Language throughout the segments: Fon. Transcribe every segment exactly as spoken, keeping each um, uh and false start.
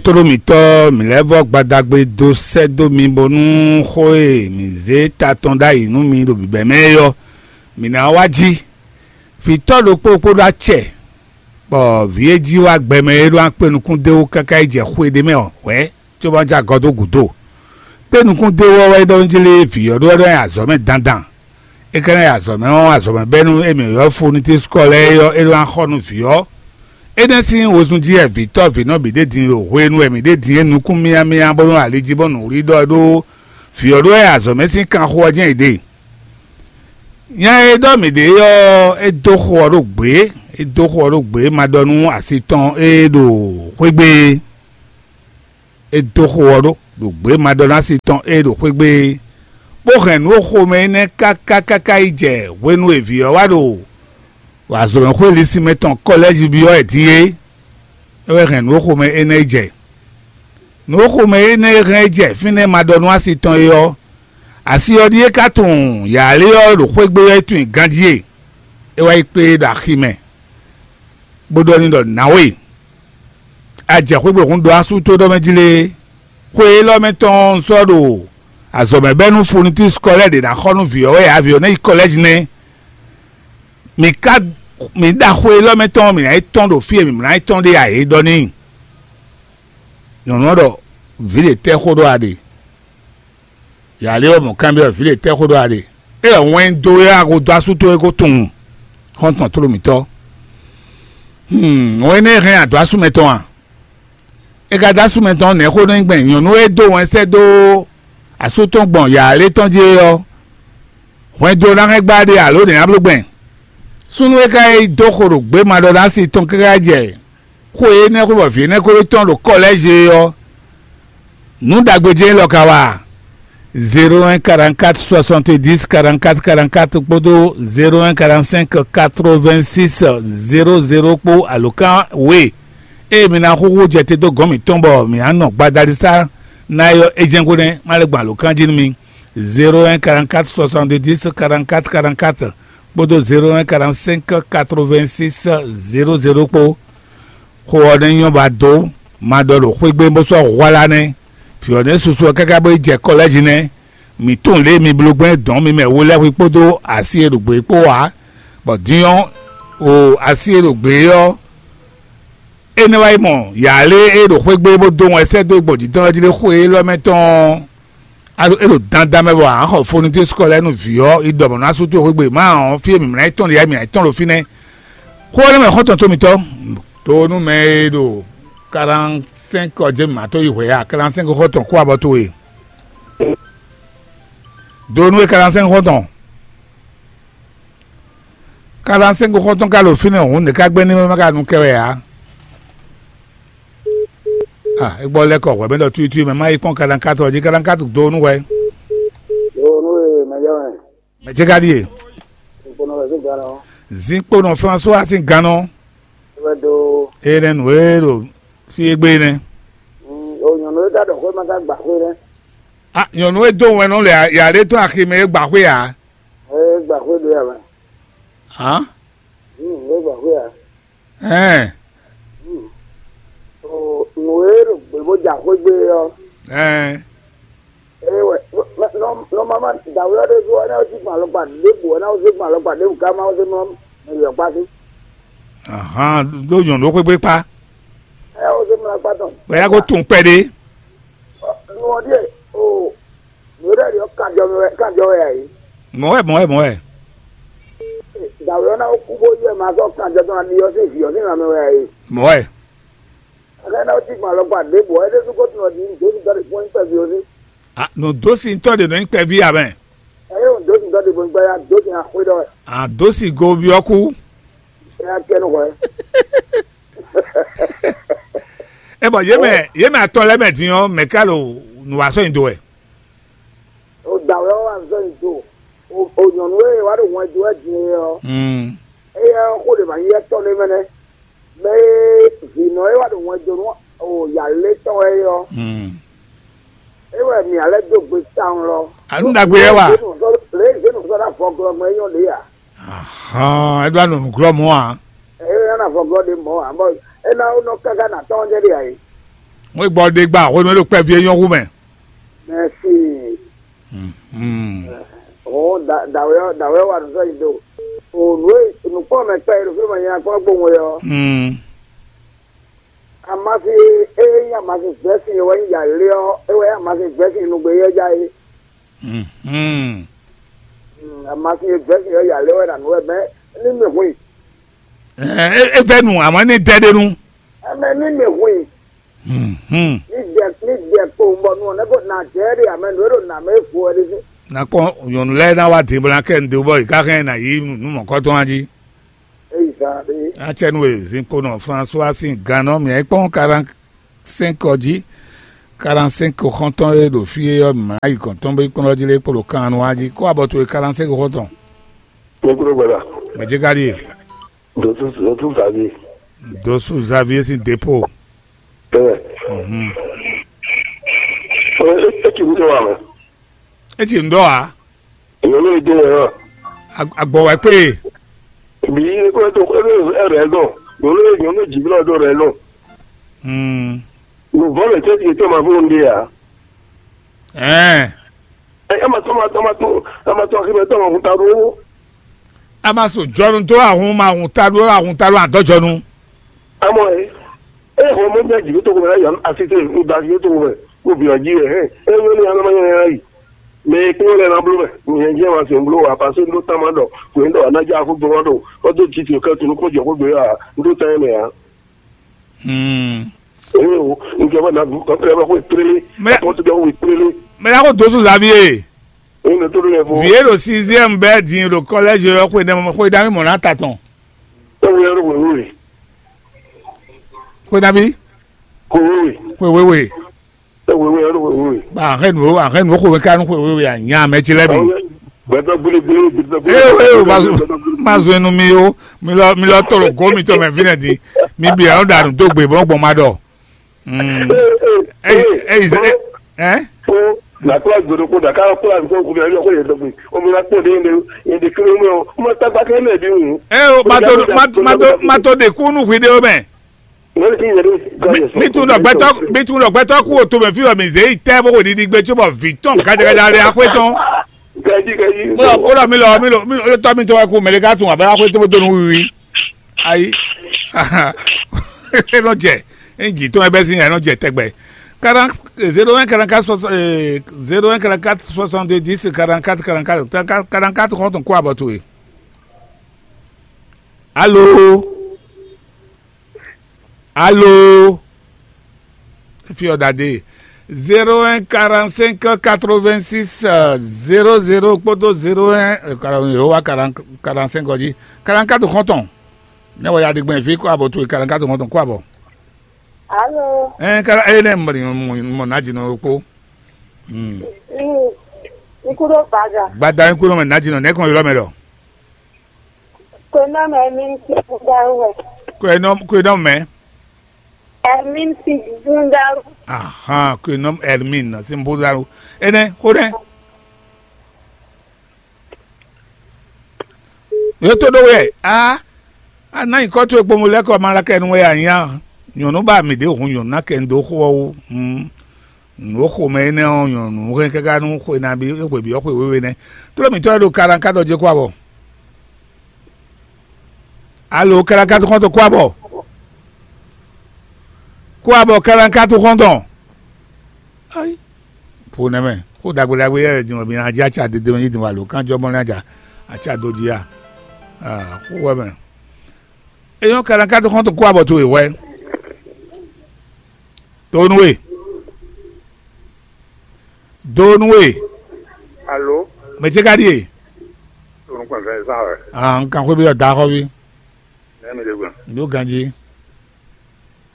Tlóló mǐtɔn, mǐ lɛ́ vɔ́ gbadagbe dó sɛ́ dó mi bónú xó e mǐ zé ta tɔn ɖ'ayǐ nú mi ɖo bǐbɛ́ mɛ é ɔ́, mǐ ná wá jí. Vǐtɔ́ ɖokpó kpódó acɛ, bɔ vǐ e jí wá gbɛ mɛ é ɖó akpé nukún d'é wú káká yi jɛ xwe ɖé mɛ ɔ́, hwɛ̌ cóbɔ jɛ agɔ dó gǔdo. Kpé nukún d'é wú ɔ́ wɛ é ɖɔ nú jí lé vǐ ɔ́ ɖó wɛ ɖɔ nyi azɔ̌ mɛ dandan. É ka ná yi azɔ̌ mɛ ɔ́, azɔ̌ mɛ bɛ́ nú émí ɔ́ fó ní tín sukɔ lɛ́ɛ é ɔ́, é nɔ wá xɔ nú vǐ ɔ́. Énɛ́ sín wezun jí wɛ vǐtɔ́ vǐnɔ bǐ ɖe din ɖo hwenu e mǐ ɖe din é nukún myámyá bónú ali jí bɔ nǔwlí ɖɔ ɖó vǐ ɔ́ ɖó wɛ azɔ̌ mɛ sín kanxo ɔ́ jɛ́n yě ɖe. Nya e ɖɔ mǐ ɖe ɔ́, é dó xo ɔ́ ɖó gbě; é dó xo ɔ́ ɖó gbě ma ɖɔ nú asi tɔn e ɖo xwé gbe é. É dó xo ɔ́ ɖó ɖo gbě ma ɖɔ nú asi tɔn e ɖo xwé gbe é, bó hɛn nǔ e xomɛ énɛ́ káká káká yi jɛ hwenu e vǐ ɔ́ wá ɖo azɔ̌mɛxwé linsin mɛ tɔn kɔlɛ́ji byɔ́ wɛ din é. É wɛ hɛn nǔ e xomɛ énɛ́ yi jɛ. Nǔ e xomɛ énɛ́ e hɛn yi jɛ fínɛ́ ma ɖɔ nú asi tɔn é ɔ́, asi ɔ́ ɖíe ka tunwun yǎlé ɔ́ ɖo xwé gbe ɔ́ é tunwun ganjí e. É wá yi kpé e ɖo axi mɛ, bó ɖɔ n'i ɖɔ: "Nǎwe, a jɛ xwé gbe hǔn ɖo asú tó ɖɔ mɛ jí lé? Xwe élɔ́ mɛ tɔn un sɔ́ ɖo azɔ̌ mɛ bɛ́ nú funitúsi kɔlɛ́ ɖě ná xɔ nú vǐ ɔ́ wɛ ǎ; vǐ ɔ́ ná yi kɔlɛ́ji nɛ́. Mǐ ka mǐ ɖa xwe élɔ́ mɛ tɔn ɔ́, mǐ ná yi tɔ́n ɖo fí e mǐ mlá yi tɔ́n ɖe ǎ." É ɖɔ n'i. Nyɔ̌nu ɔ́ ɖɔ: "Vǐ ɖě tɛ́ xó ɖó a ɖe?" Yǎ lé ɔ́ mɔ̌ kanbyɔ́ vǐ ɖě tɛ́ xó ɖó a ɖe? É ɖɔ: "Wɛn dó wɛ a ko dó asú towe ko tunwun, xɔ́ntɔn tlóló mǐtɔn. Hǔn wɛn énɛ́ hɛn a dó asú mɛtɔn a?" É ka dó asú mɛtɔn nɛ̌ xó nɔ nyí gbɛn nyɔ̌nu e dó wɛn sɛ́ dó asú tɔn gbɔn yǎ lé tɔn jí é ɔ́, hwɛndo ná hɛn gbá ɖe alo nɛ̌ ná bló gbɛn? Súnnu e ka yi dó xo ɖo gběmaɖɔɖási tɔn káká jɛ xó énɛ́ xwé bɔ vǐ énɛ́ ko tɔn ɖo kɔlɛ́zi é ɔ́, nǔ ɖagbe jɛ́n élɔ́ ka wa a? Zéro un quarante-quatre soixante-dix quarante-quatre quarante-quatre kpódó zéro un quarante-cinq quatre-vingt-six zéro zéro kpó alǒkan we e mi ná xúxú jɛ te dó gɔ̌n mǐtɔn bɔ mǐ ná nɔ gbadalisa ná é ɔ́, é jɛ́n xó nɛ́ má lɛ́ gbɔn alǒkan jí nú mi. Zéro un quarante-quatre soixante-dix quarante-quatre quarante-quatre kpódó zéro un quarante-cinq quatre-vingt-six zéro zéro kpó. Xó ɔ́ nɛ́ nyɔ́ ba dó ma ɖɔ ɖo xwé gbe bó sɔ́ hwlá nɛ́. Vǐ ɔ́ nɛ́ susu ɔ́ káká bó yi jɛ kɔlɛ́ji nɛ́. Mǐ tunwun lě e mi bló gbɛn dɔ̌n mi mɛ we lɛ́ɛ xwí kpódó asi e ɖo gbě kpó ǎ, bɔ din ɔ́, o asi e ɖo gbě ɔ́, énɛ́ wá yi mɔ yǎlé e ɖo xwé gbe bó dó wɛn sɛ́ dó gbɔn jǐ tɔn ɔ́ jí ɖé xwe élɔ́ mɛ tɔn ɔ́, a ɖo é ɖo dandan mɛ bɔ a xɔ fonu dó sukɔ lɛ́ɛ nú vǐ ɔ́ yi ɖɔ mɔ̌ ná sú towe xwé gbe má ɔ́, fí e mǐ mlá yi tɔn ɖe yá mǐ yi tɔn ɖo fínɛ́. Xó énɛ́ mɛ xɔ́ntɔn tó mitɔn. To nú mɛ e ɖo quarante-cinq ɔ́ jɛ mǐ ma tó yi hwɛ ya quarante-cinq xɔ́ntɔn kó abɔ towe. Do nú é quarante-cinq xɔ́ntɔn. Quarante-cinq xɔ́ntɔn ka ɖo fínɛ́ hǔn, nɛ̌ ka gbɛ́ ní ma ka nu kɛ wɛ ǎ? Ah, é gbɔ lɛ́ kɔ hwɛ̌ mɛ ɖɔ tuitui mɛ má yi kpɔ́n quarante-quatre ɔ́ jí, quarante-quatre do nú hwɛ. Yo, nú e mɛ jɛ wɛ. Mɛ ce ka ɖíe? Nkponɔ wɛ zé gǎn ɔ́. Zinkponɔ François sín gannɔ. É wɛ dó. Énɛ́ nǔ e ɖo fí égbé nɛ́. Mm, o nyɔ̌nu e ka ɖɔ xwé ma ka gba xwé nɛ́. Ah, nyɔ̌nu e dó wɛn nɔ le yǎɖé tɔn axi mɛ é gba xwé ǎ. É gba xwé ɖé ǎ mɛ. Hǎn? Mm, é gba xwé ǎ. Ɛɛ. Mm. O nǔ e ɖo gbě bó ja xwé gbé ɔ́. Ɛɛ. É wɛ, nɔ, nɔ, nɔ mama dǎwe ɔ́ ɖésú ɔ́, é ná jí gbɔn alɔkpa ɖěbǔ, é ná zé gbɔn alɔkpa ɖěbǔ ká má zé mlɔ́ mɛ yɔ̌kpá sí. Ahan, ɖó nyɔ̌nu xwégbé kpá. É ná zé mlɔ́ akpá tɔn. Bɔ é ná ko tunwun kpɛɖé. Nú ɔ́ ɖíe, o, nǔ e ɖɔ ɔ́ kanjɔ mɛ wɛ, kanjɔ wɛ ǎ é. Mɔ̌ wɛ, mɔ̌ wɛ, mɔ̌ wɛ. Dǎwe ɔ́ ná kú bó yɛ ma sɔ́ kanjɔ tɔn aɖi ɔ́ sín vǐ ɔ́ sín lanmɛ wɛ ǎ é. Mɔ̌ wɛ. Aka ná cí gbɔn alɔkpa ɖěbǔ ɔ́, é ɖésú ko tunɔ ɖi nǔdósítɔ́ ɖě kpɔ́n nyí kpɛví ɔ́ sí. Ah, nǔdósítɔ́ ɖě nɔ nyí kpɛví ǎ mɛ. Ɛ yé nǔdósítɔ́ ɖě kpɔ́n nyí kpɛví ɔ́, dǒsi nya xwé ɖɔ wɛ. Ah, dǒsi go byɔ́ kú. Ɛ yá kɛ nú hwɛ. É bɔ yě mɛ, yě mɛ atɔn lɛ́ɛ mɛ din ɔ́, mɛ ká ɖo nǔ wa sɔ́ nyi do wɛ. O dǎwe ɔ́ wá zɔ́ nyi do. O, o nyɔ̌nu e wá ɖo wɛn dó wɛ din é ɔ́, Mm. Éyɛ́ ɔ́, xó ɖě ma nyí étɔn nɛ́ mɛ nɛ́. Mɛ e vǐnɔ e wá ɖo wɛn dó nú o yǎlétɔn wɛ é ɔ́, Mm. É wɛ mǐ ná lɛ́ dó gbe tawun lɔ. Anu ɖagbe yɛ wa. Lě e zě nǔ sɔ́ ɖo afɔglɔ́ mɛ é nyɔ́ ɖě ǎ. Ahan, é ɖó anɔ nǔglɔ́ mɔ̌ ǎ. É ná na afɔglɔ́ ɖě mɔ̌ ǎ, bɔ é ná nɔ káká na tɔ́n jɛ ɖě ǎ é. Wọ́n gbọ́ ɖe gba hwenu e ɖo kpɛví e nyɔ́ hu mɛ. Mɛsi. Hmm. Hɔn dawɛ dawɛ wa nuzɔ yi do. O nue nukpɔn mɛ kpɛ ɖo fi ma nya kpɔn gbɔn wɛ ɔ. Hmm. Amasi e nya amasi gbɛsi wɛ nya le ɔ, e wɛ amasi gbɛsi nugbe yɛ ja yi. Hmm. Amasi gbɛsi yɛ ya le wɛ na nu wɛ mɛ ni mi hui. E vɛ nu amɔ ni dɛ de nu. Ɛmɛ ni mi hui. Hmm. Ni dɛ ni dɛ kpo bɔ nu ne ko na dɛ de amɛ nu e ɖo na mɛ fu wɛ de. Nakpɔ nyɔnu lɛ na wa din bɔ na kɛ ndu bɔ yi ka hɛn na yi nu mɔkɔtɔn aji. Eyi zan de. Atsɛnu e zinkpo nɔ François sin gannɔ mɛ kpɔn quarante cinq ɔ jí. Quarante cinq xɔntɔn e ɖo fí é ɔ́ mɛ ayi gɔn tɔn bɛ kpɔn ɔ́ jí lé kpolo kan nu aji kó abɔ towe quarante cinq xɔntɔn. Nyɛ kúrò gbɛdà. Mɛ jɛ ka ɖie. Dɔtú dɔtú zavi. Dɔsu Xavier sin dépôt. Ɛ. Mhm. Ɛ, ɛ, ɛ kì í wúlò wà mɛ. E ti ŋdɔ a? Èèyàn ló dé yẹn hàn. Agbɔ wɛ pé. Bí ekúrẹ́ tó ẹ bẹ ẹ rẹ̀ dọ̀. Èèyàn ló èèyàn ló jì bí lọ́dọ̀ rẹ̀ dọ̀. Hmm. Nùbọ́ lè tẹ́ ti tó máa fún un dé yà. Ɛn. Ɛ ɛ ma tọ́ ma tọ́ ma tọ́ ɛ ma tọ́ akínbẹ́ tọ́ ma fún ta dúró. A ma so jɔnu dó ahun ma ahun ta dó ahun ta dó adɔjɔnu. Amɔ ɛ, ɛ xɔ mɔ bia jì tó ko mɛ yɔ asi te, ko da asi tó ko mɛ, ko bi ɔ ji ɛ hɛn, ɛ wɛ ni anɔ ma nyɛ ya yi. Mɛ kpɔn lɛ na blo mɛ, nyɛ jɛ ma se blo wa pa se ndo tama dɔ, ko ndo ana ja ko gbɔ dɔ, ko do ji ti ka tunu ko jɔ ko gbe ya, ndo ta mɛ ya. Hmm. Ɛ o, nke ba na bu, ko pre ba ko pre. Mɛ ko to ko pre. Mɛ la ko dosu Xavier. Ɛ ne to le fo. Vie ɖo sixième bɛɛ din ɖo collège yɔ xwe ɖe xwe ɖe ami mɔ na ta tɔn. Ɛ wɛ ro wɛ. Xwe ɖe ami. Ko wɛ. Xwe wɛ wɛ. Ɛ wɛ wɛ ro wɛ wɛ. Ba ahɛn nu ahɛn nu xwe wɛ ka nu xwe wɛ wɛ anya mɛ tsi lɛ bi. Gbɛtɔ gbele gbele gbɛtɔ gbele. Ee ee o ma zun ma zun enu mi o mi lɔ mi lɔ tɔlɔ go mi tɔ mɛ fi nɛ di mi bi ɛlɔ danu do gbe bɔ gbɔn ma dɔ. Mm. Hey, hey, hey, hey, hey, hey, hey. Nakula gbèrò kó dàka kó àbí kó kúbi àbí kó yẹ dọ̀gbìn. Omi la kpọ̀ dé yẹn de kéré mọ́ ọ. Ọmọ tagba kẹ́ lẹ̀ bí wù. Ẹ o, ma to ma ma to ma to de kunu hwi de o mɛ. Wọ́n ti yẹ dé. Mi tun dɔ gbɛtɔ mi tun dɔ gbɛtɔ kú o to mɛ fi wɔ mi zé yi tɛ bó ko didi gbé tso bɔ vi tɔn gajagaja le akpé tɔn. Gaji gaji. Bó lɔ bó lɔ mi lɔ mi lɔ mi lɔ tɔ mi tɔn wɛ kú mɛ de ka tun abɛ akpé tɔn bó donu wiwi. Ayi. E nɔ jɛ. E ji tɔn e bɛ sin ya e nɔ jɛ tɛgbɛ. Quarante zéro un quarante quatre soixante zéro un quarante quatre soixante dix quarante quatre quarante quatre quarante quatre kɔn tɔn kó abɔ to ye. Alo. Alo. Fi ɔ dade. Zéro un quarante cinq quatre vingt six zéro zéro kpódó zéro un. Yehowa quarante cinq ɔ jí. Quarante quatre xɔntɔn. Ne wɔ ya ɖi gbɛn fi kó abɔ towe quarante quatre xɔntɔn kó abɔ. Alo. Ɛn kala eye ne mɔ mɔ na dzi nɔ kpó. Hmm. Nkúdó gbàgà. Gbada nkúdó mɛ na dzi nɔ ne kɔn yɔrɔ mɛ lɔ. Kwenɔ mɛ mi ń ti fún dárú wɛ. Kwenɔ kwenɔ mɛ. Ɛmí ń ti fún dárú. Ahan kwenɔ Hermine na sin bó dárú. Ene ko ne. Yótó ɖó wɛ a a ná nyǐkɔ towe kpombo lɛ́ kɔ ma la kɛ nu wɛ a nyá nyɔ̌nu ba mǐ ɖě hun nyɔ̌nu ná kɛ nu dó xó ɔ́ wú. Nǔ e xomɛ énɛ́ ɔ́ nyɔ̌nu hɛn káká nú xwe nabí xwe byɔ́ xwe wéwe nɛ́. Tló mǐtɔn e ɖo kaɖankátɔ jí kó abɔ. Alo kaɖankátɔ xɔ́ntɔn kó abɔ. Kó abɔ kaɖankátɔ xɔ́ntɔn. Ayi. Xo nɛmɛ xó ɖagbe ɖagbe yɛ din wɛ mi ná jí acá dede mɛ yí din wà lǒ kánjɔ mɔ ní aja acá dó jí a. Xó wɛ mɛ. Eyɔn kaɖankátɔ xɔ́ntɔn kó abɔ towe hwɛ. Donu we. Donu we. Alo. Mɛ ce ka ɖi e? Tonu kpɛn fɛn zan wɛ. Ah, n kan xwé bi ɔ da xɔ bi. Nɛ mi ɖe gbɔn. N ɖo ganji.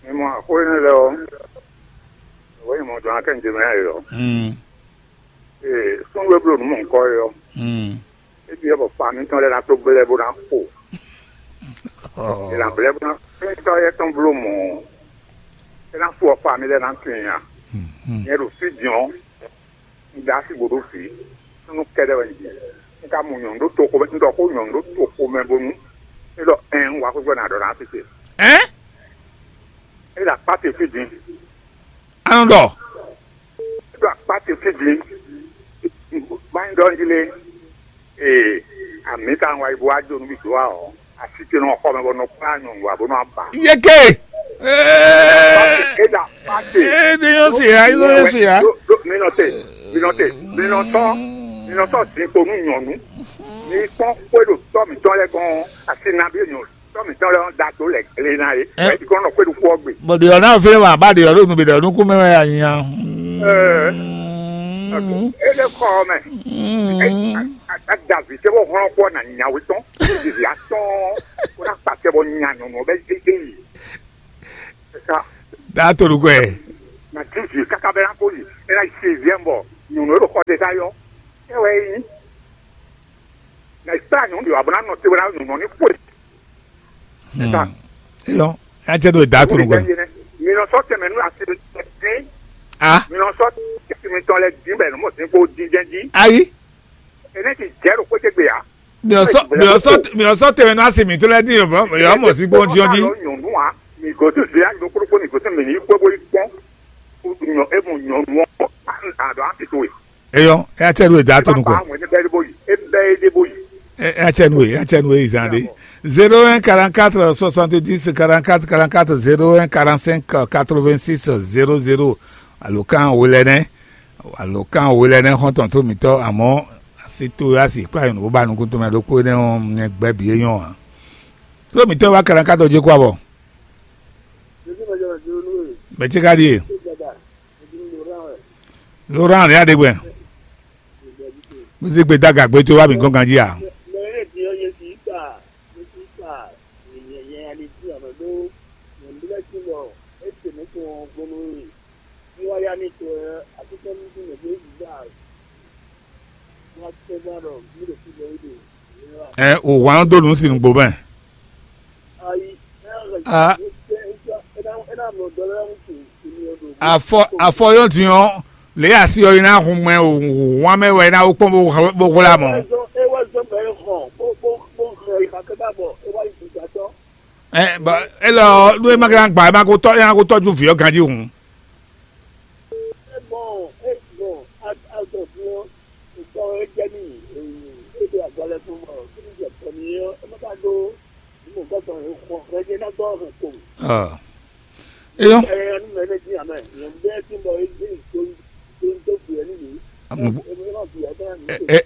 Mi mɔ axó énɛ́ lɛ ɔ. Wɛ yi mɔ dɔn akɛ n jɛ mɛ yɛ ɔ. Hmm. Ee, sɔn wɛ blo nu mɔ nkɔ yɛ ɔ. Hmm. Ebi yɛ bɔ fa mi tɔn lɛ na to gblɛ bo na xo. Ila blɛ bɔ fɛntɔ yɛ tɔn blo mɔ. Ena fo ɔkpa mi lɛ na tun ya. Nyɛ ɖo fi diɔn. N da si bo ɖo fi. Nunu kɛɖɛ wɛ n di. N ka mu nyɔn ɖo to ko mɛ, n ɖɔ ko nyɔn ɖo to ko mɛ bonu. E ɖɔ ɛn wa ko gbɔ na ɖɔ na tete. Ɛn? E da kpa te fi din. A nɔ ɖɔ. Ɖo akpá ce fí din, bá nyí ɖɔ jí lé. Ee, amǐ ka wá yi bó wá jó nú mì dó wá ɔ́, así ce nɔ xɔ mɛ bɔ nɔ kplá nyɔ̌nu wá bó nɔ ba. Yeke. É ɖa pàṣẹ. É ɖe yóò ṣe ya, é ɖe yóò ṣe ya. Mi nɔ te, mi nɔ te, mi nɔ tɔ, mi nɔ tɔ sin kpo nú nyɔ̌nu. Mi kpɔn xwé ɖo tɔ mǐtɔn lɛ́ɛ gɔ́n asi nabí nyɔ̌nu. Tɔ́ mǐtɔn lɛ́ɛ ɔ́ da dó lɛ gle ná é. Ɛ? Wɛ é kɔn nɔ xwé ɖokpó ɔ́ gbe. Bɔ ɖě ɔ́ ná fínɛ́ wǎ bá ɖě ɔ́ ɖo nǔ bǐ ɖɔ nukún mɛ wɛ a nya. Ɛɛ. É lɛ́ kɔ ɔ́ mɛ. É a- a- a da vǐ tɛ́ bɔ hlɔ́n kpɔ́ na nya wetɔ́n. Vǐ atɔ́ɔ́n. Kó ná kpa tɛ bɔ nya nyɔ̌nu ɔ́ bɛ é é yi. Ɛ ká Daa to nukún ɛ. Na dí vǐ káká bɛ ná kó yi. É ná yi sixième bɔ nyɔ̌nu é ɖo xɔ tɛ ká yɔ. É wɛ é nyí. Na yi kplá nyɔ̌nu ɖě wá bó ná nɔ te bó ná nyɔ̌nu ɔ́ ní xwe. Eyɔ, ya cɛ ɖo da to nugbe. Mi nɔ sɔ tɛmɛ nú asi dín. Ah, Mi nɔ sɔ tɛmɛ tɔn lɛ dín bɛ nɔ mɔ dín kó dín jɛn jí. Ayi. Ene ti jɛ ɖo kpété gbe ya. Mi ɔ sɔ mi ɔ sɔ mi ɔ sɔ tɛmɛ nú asi mi to lɛ dín yɔ bɔ yɔ mɔ sí gbɔn dín jí. Nyɔnu a mi gɔtú zia ɖo kókó mi gɔtú mi ní kpó bó yi kpɔn. Nyɔ emu nyɔnu ɔ a ɖɔ a ti to yi. Eyɔ, ya cɛ ɖo da to nugbe. Ba wɛn ne bɛ de bo yi. E bɛ de bo yi. Ɛ, ɛ, tiɲɛ nue, ɛ, tiɲɛ nue, izan de. Zéro un quarante-quatre soixante-dix quarante-quatre quarante-quatre, zéro un quarante-cinq quatre-vingt-six zéro zéro. Alo kan wele nɛ, alo kan wele nɛ xɔntɔn to mitɔ, amɔ asi to asi kpla yɔn ba nukun to mɛ ɖokpo ne ɔ mɛ gbɛ bi yɔn a. To mitɔ wa quarante-quatre je kwa bɔ. Mɛ ce ka ɖie? Laurent ya ɖe gbɛ. Bó sì gbé dá gǎgbé tó wá mǐ gɔ́n ganjí ǎ. Ɛ, o hwan dó nǔ sin nǔgbó mɛ. A, afɔ afɔ yɔ din ɔ, lě asi ɔ yi ná hun mɛ o, hwan mɛ wɛ ná wó kpɔn bó hla mɔ. Ɛ, bɔ élɔ́ nú é má ka gba é má ko tɔ é má ko tɔjú vǐ ɔ ganjí hǔn. Ɔ. Eyɔ.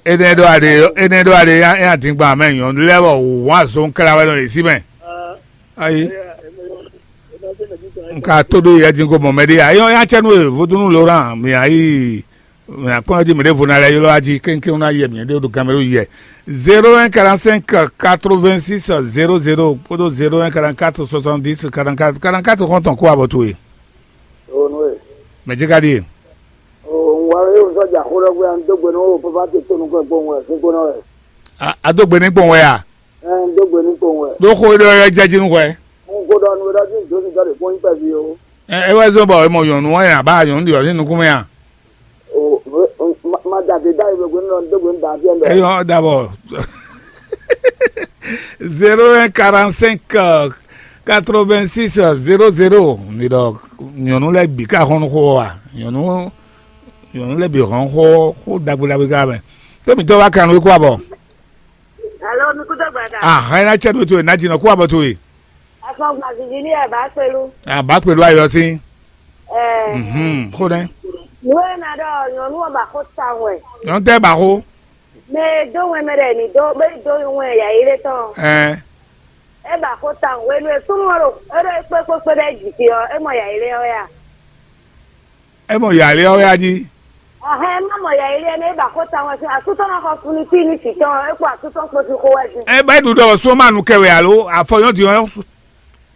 Ene ɖo aɖe ene ɖo aɖe ya ya dingba mɛ nyɔnu lɛ wɔ wǎn zo nkla wɛ nɔ yesi mɛ. Ayi. Nka to ɖo yɛ dingo mɔ mɛ ɖe ya eyɔ ya cɛ nu e vodunu Laurent mi ayi. Mɛ akpɔ́nɔ jí mɛ ɖěvo ná lɛ́ ylɔ́ ají kéŋkéŋ ná yɛ mǐ ɖé ɖo ganmɛ ɖó yɛ. Zéro un quarante-cinq quatre-vingt-six zéro zéro kpódó zéro un quarante-quatre soixante-dix quarante-quatre quarante-quatre xɔ́ntɔn kó abɔ towe. O nú e. Mɛ jí ka ɖíe. O ŋwa e o sɔ́ jà xó ɖɔ gbé an dó gbe nú o papa te tó nukɔn gbóhùn wɛ fún gbóná wɛ. A a dó gbe ní gbɔn wɛ a? Ɛ n dó gbe ní gbóhùn wɛ. Ɖó xó ɖɔ yɔ jɛ jí nú hwɛ. N kó ɖɔ nu e ɖɔ jí n dó ní dɔ ɖe kpɔ́n nyí kpɛví o. Ɛ é wɛ zɔ́n bɔ è mɔ nyɔ̌nu ɔ́ nya bá nyɔ̌nu ɖi ɔ́ ní nukún mɛ a? O, ma da de da yi gbegbe nɔ do gbe da fi ɛlɛ. Eyɔ dabɔ. Zéro un quarante-cinq quatre-vingt-six zéro zéro ni ɖɔ nyɔnu lɛ bi ka hɔn xó wa nyɔnu nyɔnu lɛ bi hɔn xó xó dagbe dagbe ka mɛ tó mi tɔ wa kan wé kó abɔ. Alo, mi kúdó gbàdá. Ah, ẹ ná cɛ do to ẹ ná jìnnà kó abɔ to ẹ. Afɔgba vivi ní ẹ̀ bá pẹ̀lú. Ah, bá pẹ̀lú ayọ̀ sí. Ẹ̀ Mhm, kó dɛ. Nú ẹ̀ ná ɖɔ nyɔnu ɔ́ ba xó ta wɛn. Nyɔnu tɛ ba xó. Mɛ e dó wɛn mɛ ɖɛ ní dó bɛ dó wɛn yà yi lé tɔn. Ɛ. É ba xó ta wɛn. Wenu e súnmọ́ ɖo é ɖo kpékpékpé ɖɛ jì fi ɔ́, é mɔ yà yi lé ɔ́ yà. É mɔ yà lé ɔ́ yá jí. Ɛhɛn, é má mɔ yà yi lé ɛnɛ é ba xó ta wɛn sín asútɔ ná xɔ funu tí ní tì tɔn é kpó asútɔ kpó fi xó wɛ sín. É bá ɖu ɖɔ sún ma nu kɛ wɛ alo afɔ yɔn di ɔn.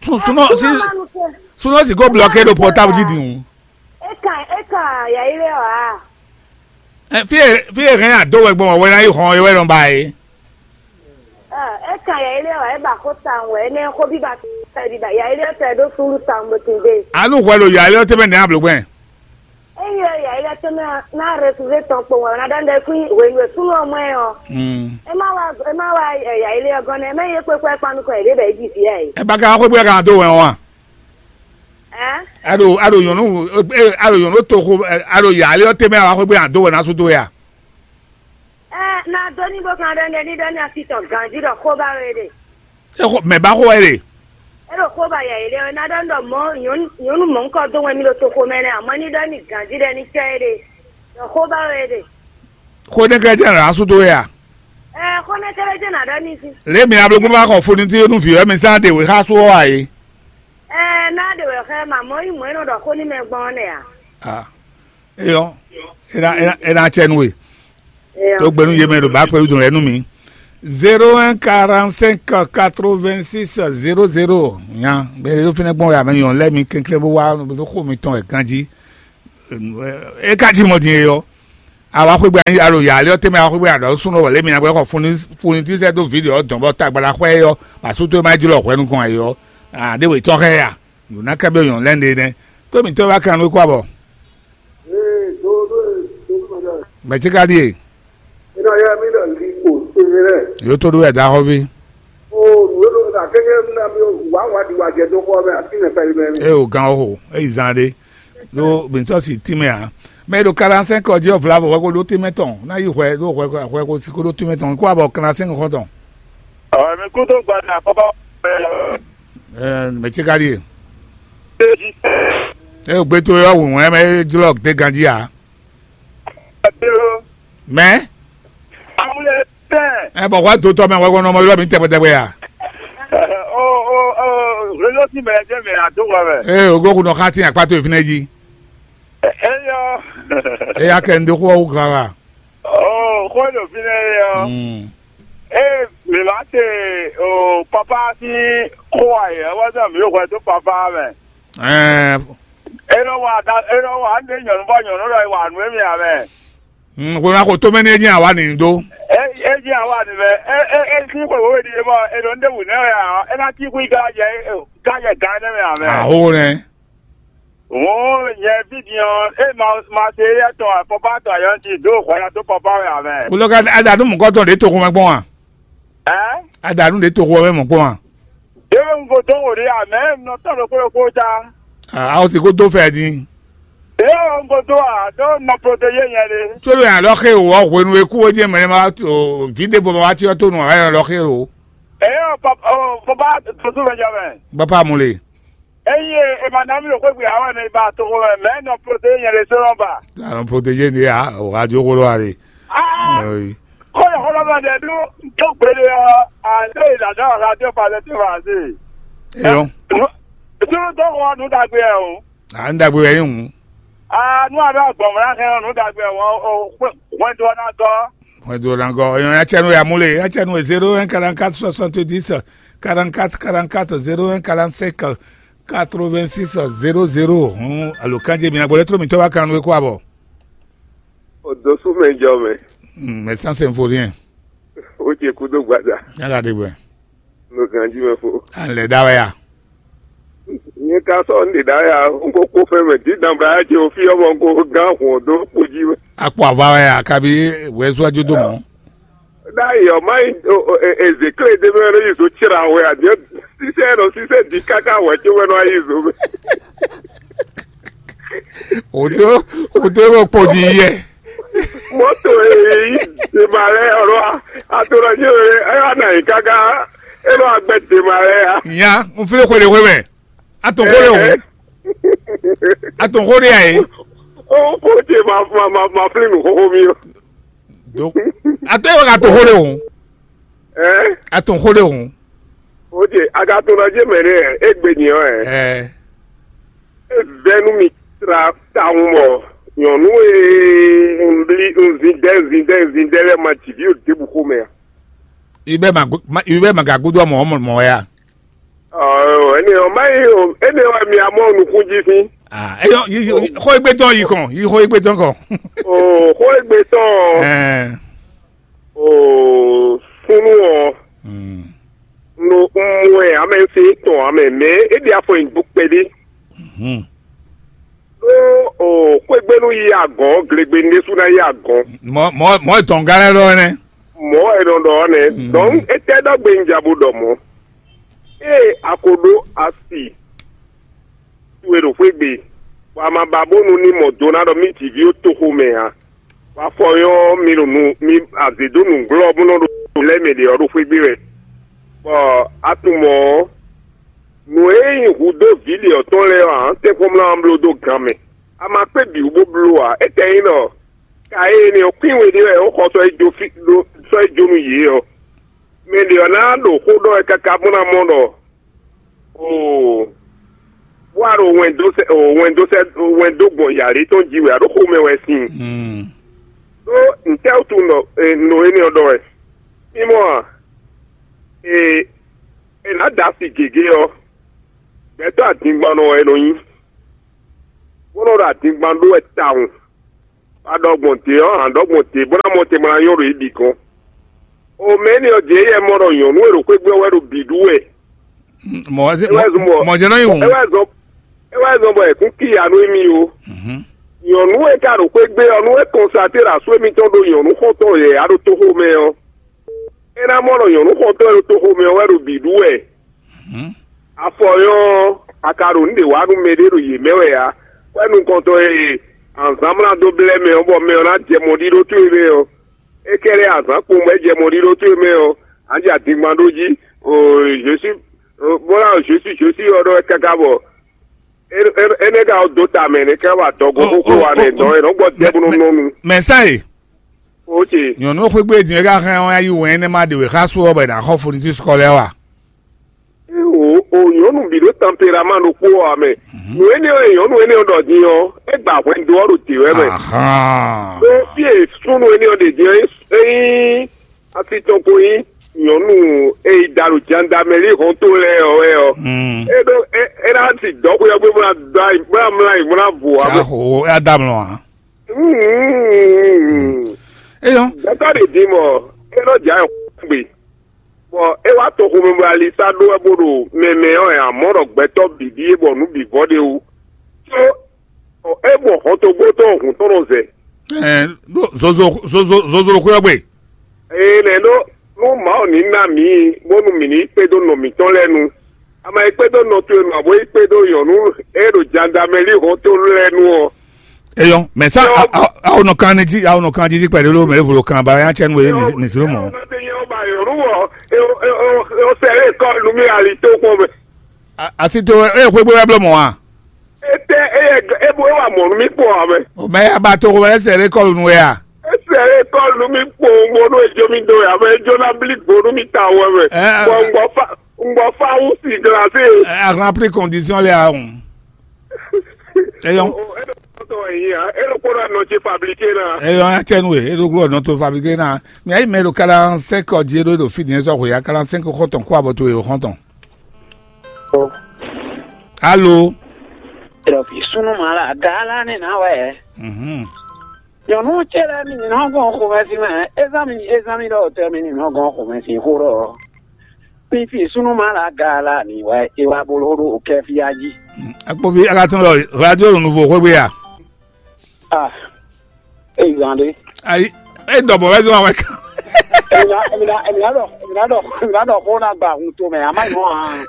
Sún sún sí sún sí kó blɔké ɖo pɔtábu jí dùn. É kàn é kàn yà yi lé ɔ́ ǎ. Ɛ, fí e fí e hɛn ado wɛ gbɔn wɛ ná yi xɔn é wɛ nɔ ba é. Ɛ, é kàn yà yi lé ɔ́ é ba xó ta wɛ é nɛ xó bí ba tɛ di ba yà yi lé ɔ́ tɛ ɖó súnnu ta bó tin dé. Anu hwɛ ɖo yà lé ɔ́ tɛmɛ nɛ ablo gbɛn. Eye yà yi lé tɛmɛ ná rɛsúvé tɔn kpowun wɛ ná ɖɔ ndɛ kún hwenu e súnnu ɔ́ mɔ ɛ ɔ́. Mm. É má wá é má wá ɛ, yà yi lé ɔ́ gɔ́n nɛ é má yí é kpékpé kpán nukɔn yě ɖé bɛ é ji vǐ ɛ. É ba ka xó gbé kan do wɛ ɔ́ a? Ɛ? A ɖo a ɖo nyɔ̌nu, a ɖo nyɔ̌nu toxo, a ɖo yǎ lé ɔ́ tɛnmɛ wá xwé gbé a dó wɛ ná sú dó wɛ a? Ɛ, na dó ní bó kan ɖɔ ní ɖɔ ní así tɔn ganjí ɖɔ xó ba wɛ ɖe. E xo mɛ ba xo wɛ ɖe. E ɖo xó ba yɛ yɛ ɖe na ɖɔ ní ɖɔ mɔ nyɔnu mɔ ŋkɔ dó wɛ mi ɖo toxo mɛ nɛ amɔ ní ɖɔ ní ganjí ɖɔ ní cɛ ɖe ɖɔ xó ba wɛ ɖe. Xó nɛ́ kɛ́ jẹ́ nǎ sú dó wɛ a? Ɛ, xó nɛ́ kɛ́ jẹ́ nǎ ɖɔ ní sí. Lě mi ablogbó bá xɔ foni tí yónú vǐ wɛ mi sán ɖe wě xá sú ɔ́ a é? Ɛ, ná ɖe wɛ xɛ ma mɔ yí mɔ é nɔ ɖɔ xó ní mɛ gbɔn ɔ́ nɛ a? Ah. Eyɔ, ena ena ena tsɛ nu we. Eyɔ. To gbenu yeme ɖo ba kpɛ dun lɛ nu mi. Zéro un quarante cinq quatre vingt six zéro zéro. Nya bɛ ɖo fínɛ gbɔn ya mɛ yɔn lɛ mi kɛnklɛn bó wá bó xo mi tɔn ɛ ganji. E ka ji mɔ din eyɔ. Awa xwegbe anyi alo ya lɛ tɛmɛ awa xwegbe aɖɔ sunɔ wɔ lɛ mi na gbɛ xɔ funi funi tí sɛ do video dɔn bɔ tagbala xwɛ yɔ. Pasu to ma jlɔ hwɛ nukɔn ayɔ. Ade wetɔ xɛ ya. Nuna kɛ bɛ yɔn lɛ nde nɛ. Tó mi tɔ wa kan nú kó abɔ. Ee, doo doo ee, doo doo mɛ dɔ. Mɛ tsi ka ɖie? Ina yɛ mi ɖɔ li ko sebe lɛ. Yóò tó ɖó wɛ da xɔvi. O nǔ e ɖo la kéké na mi wǎ wǎ ɖi wǎ jɛ dó xɔ mɛ afi mɛ pɛlɛ mɛ. E o gan o, e yi zan ɖe. Ɖó mi sɔ si tínmɛ ǎ. Mɛ e ɖo quarante-cinq ɔ́ jí ɔ́ vla vɔ hwɛ ko ɖó tínmɛ tɔn. Ná yi hwɛ ɖó hwɛ hwɛ ko si ko ɖó tínmɛ tɔn. Kó abɔ quarante-cinq xɔ tɔn. Ɔ mi kú tó gbada kɔkɔ. Ɛɛ, mɛ tsi ka ɖie? Ee, gbɛtɔ́ yɔ wǔnwɛn mɛ jlɔ de ganjí a? Mɛ? Ɛ bɔ wá dotɔ mɛ wɛ kɔnɔ mɔ yɔrɔ mi tɛgbɛtɛgbɛ ya? Réseau ti mɛ jẹ́ mɛ àdó wa mɛ. Ee, ogo kun nɔ xa ti akpato ìfínɛ jí. Eyɔ. Eya kɛ n de xó ɔ́ wú glala. Ɔ xó ɖo fínɛ eyɔ. Mm. Ee, mǐ ma se o papa sín xó ayɛ wá sɔ mǐ hwɛ dó papa mɛ. Ɛɛ. E nɔ wa da e nɔ wa ɖe nyɔ̌nu bɔ nyɔ̌nu lɔ wa nú emi amɛ. Mm, xwe ma xo to mɛ ní e dín àwa nǐ dó. E e dín àwa nǐ mɛ e e e sín xwe wéwe ɖi e mɔ e ɖo nu ɖe wǔ nɛ wɛ a e ná cí xwí gájɛ gájɛ gán nɛ mɛ amɛ. Aho nɛ. Wǒ nyɛ fí din ɔ́, é ma ma se éyɛ́ tɔn afɔkpá tɔn ayɔ́ jí dó hwɛ ná dó kɔfá wɛ ǎ mɛ. Wulɔ ka a da nú mɔ̌kɔtɔn ɖě toxo mɛ gbɔn a? Ɛ? A da nú ɖě toxo mɛ mɔ̌ gbɔn a? É wɛ un ko dó wò ɖe ǎ, mɛ un nɔ tɔ́n ɖokpó ɖokpó ta. A o si ko dó fɛ din. É wɛ un ko dó a, ɖó un nɔ protégé nyɛ ɖe. Tó ló yàn lɔ xé o, wɔ hwenu e kú o jẹ́ mɛ ma o vǐ ɖěvo ma wá cyɔ tó nù a yɔ lɔ xé o. É ɔ papa ɔ papa tó tó mɛ jɛ mɛ. Bapa mu le. Eye e ma ná mi ɖo xwé gbe ǎ wɛ nɔ yi ba toxo mɛ, mɛ nɔ protégé nyɛ ɖésú nɔ ba. A nɔ protégé ní a o radio xó lɔ a ɖe. Aa Ɔyi. Xó yɛ xó lɔ mɛ ɖɛ ɖó tó gbéɖé ɔ́, a lé yi dada ɔ́ radio pa lɛ tó ma se. Eyɔ. Sunu tó xɔ nu dagbe ɛ o. A nu dagbe wɛ yi hùn. Aa nu a bɛ gbɔn mɔ na hɛn nu dagbe ɛ o o hwɛndo ɔ́ ná gɔ́. Hwɛndo ɔ́ ná gɔ́. Eyɔ ya cɛ nu ya mú le, ya cɛ nu e zéro un quarante-quatre soixante-dix quarante-quatre quarante-quatre zéro un quarante-cinq quatre-vingt-six zéro zéro. Hɔn alo kanje mi na gbɔ lɛ tló mi tɔ wa kan nu e kó abɔ. O dó sú mɛ jɔ mɛ. Hmm, mais ça c'est un vaurien. O ce kudo gbada. Yàrá de bɛ. No ganji mɛ fo. An lɛ da wɛ ya. Nye ka sɔ n de da ya, n ko ko fɛn mɛ di dan bla ya ce o fi ɔmɔ ko gan hɔn do kpo ji mɛ. Akpɔ ava wɛ ya kabi wɛzua jo do mɔ. Ɖ'ayǐ ɔ́, má nyí Ezekle ɖé mɛ nɔ yi zo cra wɛ ǎ, jɛ sísɛ nɔ sísɛ di káká wɛ có wɛ nɔ yi zo mɛ. Wòdó wòdó ɖo kpo jí yɛ. Mɔto e yi dema lɛ ɔlɔ ato nɔ nyi e ɛ wa na yi káká e nɔ agbɛ dema lɛ ya. Nya, n fili xwe ɖe xwe mɛ. A to xó ɖe hǔn. A to xó ɖe a ye. O ko ce ma ma ma ma fili nu xoxo mi o. Donc, a to yɔ ka to xó ɖe hǔn. Ɛ? A to xó ɖe hǔn. O ce a ka to na je mɛ ne e gbe nyi ɔ ɛ. Ɛ. E vɛ nu mi tra tawun bɔ nyɔnu e n bli n zin dɛ n zin dɛ n zin dɛ lɛ ma ji vi o debu xo mɛ a. I bɛ ma gu- ma- i bɛ ma ga gudu mɔ mɔ mɔ ya. Ɔɔ, ene ɔ ma yi o, ene ɔ mi amɔ nukun ji fi. Ah, eyɔ yi yi yi- xó egbe tɔn yi kɔn yi xó egbe tɔn kɔn. O xó egbe tɔn. Ɛɛ. O sunu ɔ Mm. No un mɔ ɛ amɛ se tɔn amɛ mɛ e ɖi afɔ yin do kpɛɖe. Mhm. Ɖó o xwégbénu yi agɔ̌n, glegbe ɖésú ná yi agɔ̌n. Mɔ mɔ mɔ dɔngá lɛ ɖɔ nɛ. Mɔ̌ wɛ è nɔ ɖɔ ɔ́ nɛ́. Mm. Donc étɛ́ ɖɔ gbe un ja bo ɖɔ mɔ̌? Ée a ko ɖó asi towe ɖo xwé gbe, bɔ a ma ba bónú ní mɔ do ná ɖɔ mì jǐví ó toxo mɛ ǎ. Bɔ afɔ nyɔ́ mi ɖo nu mi azě dó nǔglɔ́ bó nɔ ɖo lɛ́ mɛ ɖě ɔ́ ɖo xwé gbe wɛ. Bɔ a tunwun mɔ̌ ɔ́, nǔ e nyí hudó vǐ ɖě ɔ́ tɔn lɛ́ɛ ɔ́, ǎ tɛ́nkpɔ́n mlá ɔ́ bló dó gan mɛ. A ma kpé bǐ wú bó bló ǎ. Étɛ́ nyí ɖɔ ka e énɛ́ ɔ́, kwín we ɖé wɛ é xɔ sɔ́ yi jó fí ɖó sɔ́ yi jó nú yě ɔ́. Mɛ ɖě ɔ́ ná ɖo xó ɖɔ wɛ káká bó ná mɔ ɖɔ oo, bó wá ɖo wɛn dó sɛ oo wɛn dó sɛ wɛn dó gbɔn yǎlí tɔn jí wɛ a ɖo xomɛ wɛ sin. Ɖó ntɛ́ wútu nɔ nɔ énɛ́ ɔ́ ɖɔ wɛ? Mimɔ a? Ee, è nǎ da asi gěgé ɔ́, gbɛtɔ́ adingbannɔ wɛ é nɔ nyí, bó nɔ ɖo adingban ɖó wɛ tawun. A ɖɔ gbɔn dě ɔ́, a ɖɔ gbɔn dě bó ná mɔ te ma ná nyɔ́ ɖo yě bǐ gɔ́n. O mɛ énɛ́ ɔ́, jě yɛ mɔ ɖɔ nyɔ̌nu e ɖo xwé gbe ɔ́ wɛ ɖo bǐ ɖu wɛ. Mɔ̌ wɛ zɔ́n bɔ mɔ jɛ́ nɔ nyi wǔ. É wɛ zɔ́n é wɛ zɔ́n bɔ è kún kíya nú émí ó. Nyɔ̌nu e ka ɖo xwé gbe ɔ́, nú é kɔnsaté ɖo asú émítɔn ɖo nyɔ̌nu xɔntɔn yɛ̌yá ɖo toxo mɛ ɔ́, é ná mɔ ɖɔ nyɔ̌nu xɔntɔn e ɖo toxo mɛ ɔ́ wɛ ɖo bǐ ɖu wɛ. Afɔ nyɔ́ ɔ́, a ka ɖo nǔ ɖě wa nú mɛɖé ɖo yě mɛ wɛ ǎ. Wɛ nukɔntɔn e anzǎn mlá dó blɛ́ mɛ ɔ́, bɔ mɛ ɔ́ ná jɛ mɔɖíɖó towe mɛ ɔ́, é kɛ́ɖɛ́ azǎn kpowun bɔ é jɛ mɔɖíɖó towe mɛ ɔ́, a jɛ adingban ɖó jí. Jésus bó ná Jésus Jésus ɔ́ ɖɔ wɛ káká bɔ énɛ́ ka ɔ́ dó ta mɛ nɛ́ ká wa dɔgɔn xóxó wa nɛ dɔn ɛ nɔ gbɔ dɛ bó nɔ nɔ nu. Mɛ sa e. Ok. Nyɔ̌nu xwégbé din e ka hɛn ɔ́ yí wɛn énɛ́ ma ɖe wě xá sú ɔ́ bɔ è nǎ xɔ fonitis kɔ lɛ́ɛ wa. O o nyɔ̌nu bǐ ɖo tanperaman ɖokpó ɔ́ mɛ. Nǔ énɛ́ ɔ́ e nyɔ̌nu énɛ́ ɔ́ ɖɔ din ɔ́, é gba hwɛndo ɔ́ ɖo dě wɛ mɛ. Ahán. Ɖó fí e súnnu énɛ́ ɔ́ ɖe din ɔ́, é nyí asi tɔn ko nyí nyɔ̌nu e yi da ɖo jandamɛlí hɔnto lɛ́ɛ ɔ́ wɛ ɔ́. Mm. É ɖó é é ná ti dɔ̌xwé ɔ́ gbé bó ná dɔ́ ayǐ bó ná mlá ayǐ bó ná vo ǎ. Cǎ ho é á dá mlɔ ǎ. Eyɔ́. Gbɛtɔ́ ɖě din mɔ é nɔ jɛ ayɔ gbe, bɔ é wá to xomɛ bɔ ali sá ɖó wɛ bó ɖo mɛmɛ ɔ́, ɛ amɔ̌ ɖɔ gbɛtɔ́ bǐ ɖíe bɔ nǔ bǐ vɔ ɖ'é wú. Có é mɔ hɔntogbó tɔn hǔn tɔn nɔ zɛ. Ɛɛ ɖó zozo zozo zozo ɖo xwé ɔ́ gbe. Ee nɛ̌ ɖó nú Mawu ní ná mǐ bónú mǐ ní kpédó nɔ mǐtɔn lɛ́ɛ nu. A ma yi kpédó nɔ towe nu ǎ bó yi kpédó nyɔ̌nu e ɖo jandamɛlí hɔnto lɛ́ɛ nu ɔ́. Eyɔ́, mɛ sá Eyɔ́. Awo nɔ kan ní jí awo nɔ kan jí jí kpɛɖé ló mɛ evo kan ba ya cɛ nu e mi zlo mɔ. Ɔ́ ba nyɔ̌nu wɔ o sɛ e kɔ nu mi ali tó kpɔn mɛ. Asi to e xwé gbé wɛ bló mɔ wa. Etɛ eyɛ ebo ewa mɔ nu mi kpɔn ame. O mɛ ya ba to ko wɛ sɛ e kɔ nu ya. Esɛ e kɔ nu mi kpɔn bónú ejo mi do ya mɛ ejo na bli gbonu mi ta wɛ mɛ. Ɛ, ɛ, Bɔn ŋgbɔ fa ŋgbɔ fa wu si glase. Ɛ, a grand prix condition lɛ a hùn. Eyɔn. Eɖokpɔtɔ yi ya eɖokpɔtɔ nɔ tse fabriqué na. Eyɔn atsɛnu e eɖokpɔtɔ nɔ to fabriqué na. Mi ayi mɛ ɖo quarante cinq ɔdzi eɖo eɖo fi din sɔ xwe ya quarante cinq xɔtɔn kó abɔ to e o xɔtɔn. Alo. Eɖɔ fi sunu ma la gaala ne na wɛ. Mhm. Nyɔnu tse lɛ mi nɔ gɔn xomɛsin mɛ ezan mi ezan mi ɖɔ tɛ mi nɔ gɔn xomɛsin xó ɖɔ. Fífi súnú ma la ga la mi wɛ é wá bló ɖo kɛfíá jí. Akpovi alatɔn lɔ radio ɖo nuvo xwégbe ya. Ah, é zan ɖé. Ayi, é dɔbɔ wɛ zɔn wɛ kan. Èmi ná èmi ná èmi ná ɖɔ èmi ná ɖɔ èmi ná ɖɔ xó ná gba hun to mɛ àmá nyɔ hàn.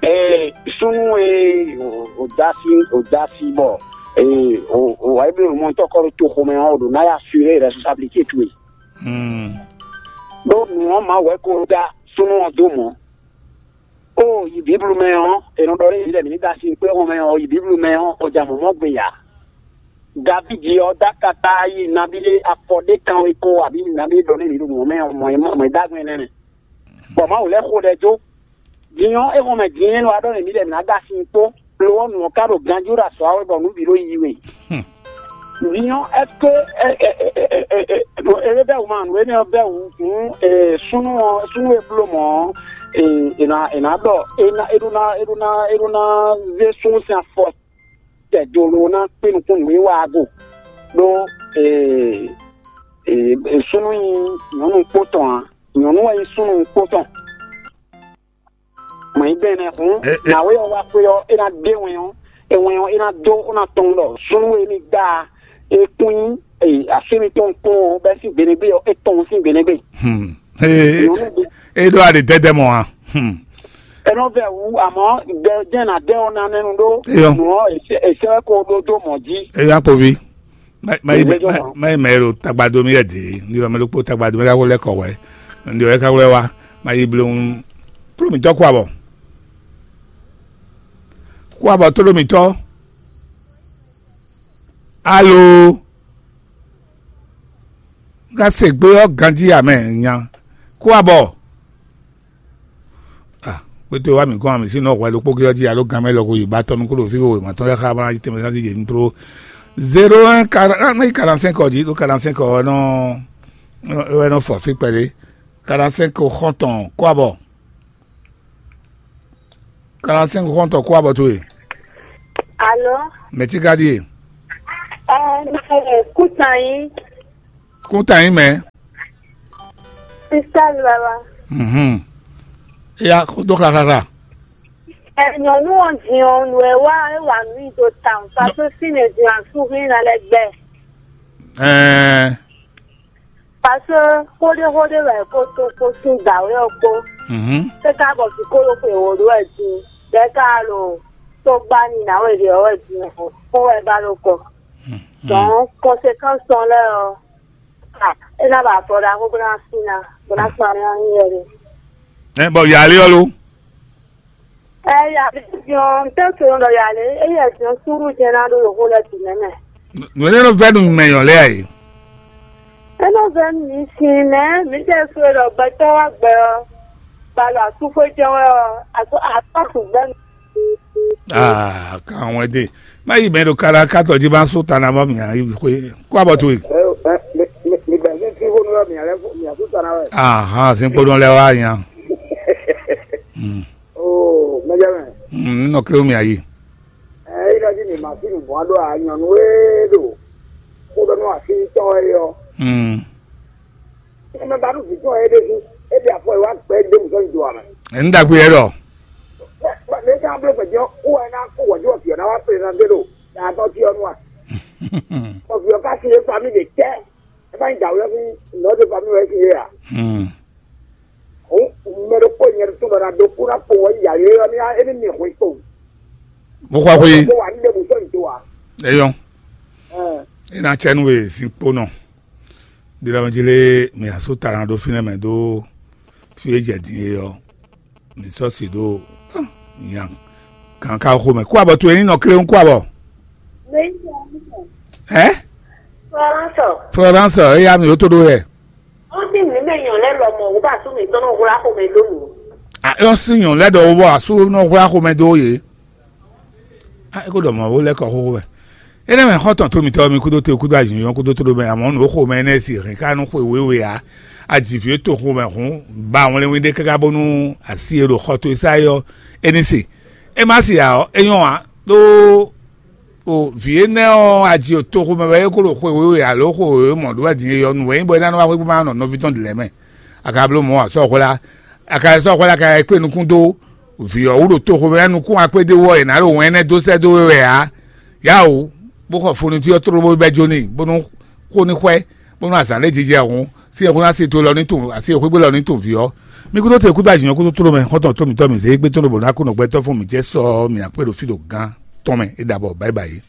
Ee súnú e ò dá sí ò dá sí bɔ ee ò ò wá ibi mɔ tɔkɔ ɖo to xomɛ ɔ́ ò ɖo ná yà assuré responsabilité towe. Hmm. Ɖó nǔ ɔ́ ma wɛ ko dá súnú ɔ́ dó mɔ̌. Ó yi Bíblu mɛ ɔ́, è nɔ ɖɔ nú yě ɖɔ mǐ ní da sin kpé xɔn mɛ ɔ́, yi Bíblu mɛ ɔ́, xɔ ja mɔ̌ mɔ̌ gbe ǎ. Davídi ɔ́ dó akata yi nabí ɖé afɔ ɖé kanwe ko abǐ nabí ɖɔ nú mǐ ɖo mɔ̌ mɛ ɔ́, mɔ̌ e mɔ̌ e dó agbɛn nɛ́ nɛ. Bɔ Mawu lɛ́ xo ɖɛ jó. Din ɔ́, é xɔn mɛ din é nɔ wá ɖɔ nú mǐ ɖɔ mǐ ná da sin kpó. Lo ɔ́, nǔ ɔ́ ka ɖo ganjí ɖo azɔ̌ ɔ́ wɛ bɔ nǔ bǐ ɖo yiyi we. Din ɔ́, ɛ́ ké é bɛ́ wǔ ma nǔ énɛ́ ɔ́ bɛ́ wǔ hǔn súnnu ɔ́ súnnu e bló mɔ̌ ɔ́, è nǎ è nǎ ɖɔ é ná é ɖó ná é ɖó ná é ɖó ná zé súnnu sín afɔ tɛ do lo ná kpé nukún nǔ e wa go. Ɖó súnnu nyí nyɔ̌nu kpó tɔn ǎ, nyɔ̌nu wɛ nyí súnnu kpó tɔn. Mɔ̌ nyí bɛ́nɛ́ hǔn, nǎwe ɔ́ wá xwé ɔ́, é ná ɖe wɛn ɔ́, é wɛn ɔ́, é ná dó, ó ná tɔn ɖɔ súnnu e mi gbá e kún nyí asú mitɔn kpɔ́n ɔ́, bɛ́ sín gbeɖégbé ɔ́, é tɔn sín gbeɖégbé. Hmm. Ee, é ɖó aɖe dɛdɛ mɔ a? Hmm. É nɔ vɛ wú, amɔ̌ ɖɛ jɛ́n ná dɛ ɔ́ ná nɛnu ɖó. Eyɔ. Nǔ ɔ́, è sɛ́ wɛ ko ɖó dó mɔ̌ jí. Eyɔ akpovi. Má má yi Ìgbésẹ̀ má- náà. má yi mɛ ɖo tagbado mi yɛ dě ní lɔ mɛ ɖokpó tagbado mi ka wlɛ kɔ wɛ. Ndi wɛ ka wlɛ wa. Má yi blewun. Tló mi tɔ kó abɔ. Kó abɔ tló mi tɔ. Alo. Ka se gbé ɔ́ ganjí amɛ nya. Kó abɔ. Ah, kpétó wa mǐ kɔn mǐ sín nɔ hwɛ ɖokpó ɔ́ jí alo gan mɛ lɔ ko yi ba tɔn nukúnɖo fí bo wěma tɔn lɛ́ɛ xá bó ná yi tɛnmɛ zán sí jě ní tló. Zéro un, mɛ yi quarante cinq ɔ́ jí ɖó quarante cinq ɔ́ nɔ wɛ nɔ fɔ fí kpɛɖé. Quarante cinq xɔntɔn kó abɔ. Quarante cinq xɔntɔn kó abɔ towe. Alo. Mɛtíkadíe. Ɛ, mɛ kútan yín. Kútan yín mɛ. Sista Lala. Mhm. Eya dó xaxaxa. Ɛ, nyɔ̌nu ɔ́ din ɔ́, nǔ e wa é wa nǔ nyi do tawun, pase fínɛ́ din asúhín ná lɛ́ gbɛ. Ɛɛ. Pase xóɖéxóɖé wɛ é ko tó kpó sín dǎwe ɔ́ kpó. Mhm. É ka bɔ vǐ kó ɖo xwe wǒ ɖó wɛ din, bɔ é ka ɖo tó gbá n'i ná wɛ ɖě ɔ́ wɛ din ɔ́, xó wɛ ba ɖo kɔ. Mhm. Donc conséquence tɔn lɛ́ɛ ɔ́, ah, é ná ba afɔ ɖaxó bó ná sí ná, bó ná kpan ná nyí wɛ ɖe. Ɛ bɔ yǎ lé ɔ́ lo? Ɛ, yǎ lé din ɔ́, un tɛ́ sɔ́ ɖɔ yǎ lé, éyɛ́ din ɔ́, súnnu jɛ́n ná ɖó ɖo xó lɛ́ɛ bǐ mɛ mɛ. Nǔ énɛ́ nɔ vɛ́ nú mɛ nyɔ̌ lɛ́ɛ a yě. É nɔ vɛ́ nú mi sin, mɛ mǐ tɛ́ sɔ́ ɖɔ gbɛtɔ́ wá gbɛ ɔ́, ba ɖo asúxwé jɛ́n wɛ ɔ́, asú asú gbɛ́ nú. Aa, kan wɛn de. Má yi mɛ ɖo kára kátɔ jí má sú ta ná mɔ mǐ yi xwé. Kó abɔ towe. Ɛ, ɛ, mi, mi, mi gbɛ́ sí sí xó nú wɛ mǐ lɛ́ fún, mǐ asú ta ná wɛ. Ahan, sin kpónɔ lɛ́ wá nya. Hmm. Oo, mɛjɛ mɛ. Hmm, nɔ kléwu mǐ ayi. Ɛ, é ɖɔ jí mǐ ma sí nǔgbɔn ɖó a nyɔ̌nu e ɖo xó ɖɔ nú así tɔn wɛ é ɔ́. Hmm. Ɛ mɛ ba nú vǐ tɔn e ɖe sí, é ɖe afɔ e wá gbɛ é ɖe wǔ sɔ́ nyi do ǎ mɛ. Ɛ, ní ɖagbe yɛ ɖɔ. Bɔ, bɔ, lě e ka bló gbɛ̌ ɔ́, wú wɛ ná kó wɛ̌jɔ́ vǐ ɔ́ ná wá kplé ná zé ɖo yǎtɔ́ jí ɔ́ nu a? Bɔ vǐ ɔ́ ka sin é famille ɖě tɛ́, é ka nyí dǎwe ɔ́ sín nɔ̌ ɖé famille wɛ é sin é ǎ. Hmm. Hǔn, mɛ ɖokpó nyɛ ɖo tó ɖɔ ná dó kú ná kpo wɛ yǎ lé ɔ́ ní é ní mi hwǐ kpo. Bó xɔ xwé. Kó wà ní ɖěbǔ sɔ́ nyi do ǎ. Eyɔn. Ɛn. É ná cɛ nú we zinkpo nɔ. Ɖilɔmɔjí lé mi asú ta ná ɖó fínɛ́ mɛ ɖó fí e jɛ din é ɔ́. Mi sɔ́ si ɖó nya kan ka xo mɛ. Kú abɔ towe ní nɔ kléwún kú abɔ. Ɛ? Florence. Florence, eya mi ó tó ɖó yɛ. Ó sì ní mɛ nyɔ̌ lɛ́ lɔmɔ̌ wú bá sú mǐtɔn nɔ hwlá xomɛ dó nǔ. A é ɔ́ sí nyɔ̌ lɛ́ ɖɔ wó bɔ asú nɔ hwlá xomɛ dó yě. A é kó ɖɔ mɔ̌ wó lɛ́ kɔ xóxó mɛ. Énɛ́ mɛ xɔ́ntɔn tó mitɔ́ mi kúdó te kúdó azǐnjɔ́n kúdó tó ɖó mɛ amɔ̌ nǔ xomɛ énɛ́ si hɛn ká nú xwe wěwe ǎ. Ajǐví e to xomɛ hǔn ba wlɛ́nwí ɖé káká bónú asi e ɖo xɔ towe sá é ɔ́, é ní se. É má se ǎ ɔ́, é nyɔ́ ǎ. Ɖó O vǐ énɛ́ ɔ́, aji o toxo mɛ wɛ é ko ɖo xwe wěwe alo xwe wěwe mɔ̌ ɖó wɛ din é ɔ́, nǔ wɛ nyí bɔ é ná nɔ wá xwé kpó má nɔ nɔví tɔn ɖě lɛ́ɛ mɛ. A ka bló mɔ̌ ǎ, sɔ́ hwlá, a ka sɔ́ hwlá, a ka yi kpé nukún dó vǐ ɔ́ wú ɖo toxo mɛ wɛ nukún akpédéwú ɔ́, è nǎ ɖo wɛn énɛ́ dó sɛ́ dó we wɛ ǎ. Yá o, bó xɔ funutí ɔ́ tlóló bó yi bɛ́ jó n'i, bónú xó ní xwɛ, bónú azǎn lɛ́ɛ jijɛ hǔn, sí ɛxó ná se to lɔ ní tun, asi xwégbé lɔ ní tun vǐ ɔ́. Mi kúdó te kúdó ajǐnɔ kúdó tló mɛ, xɔ́ntɔn tló mǐtɔn mǐ zé gbé tɔn ɖo bǒ ná kú nɔ gbɛtɔ́ fún mǐ jɛ sɔ mǐ akpé ɖo fí ɖo gán tɔn mɛ é ɖabɔ báyibáyi.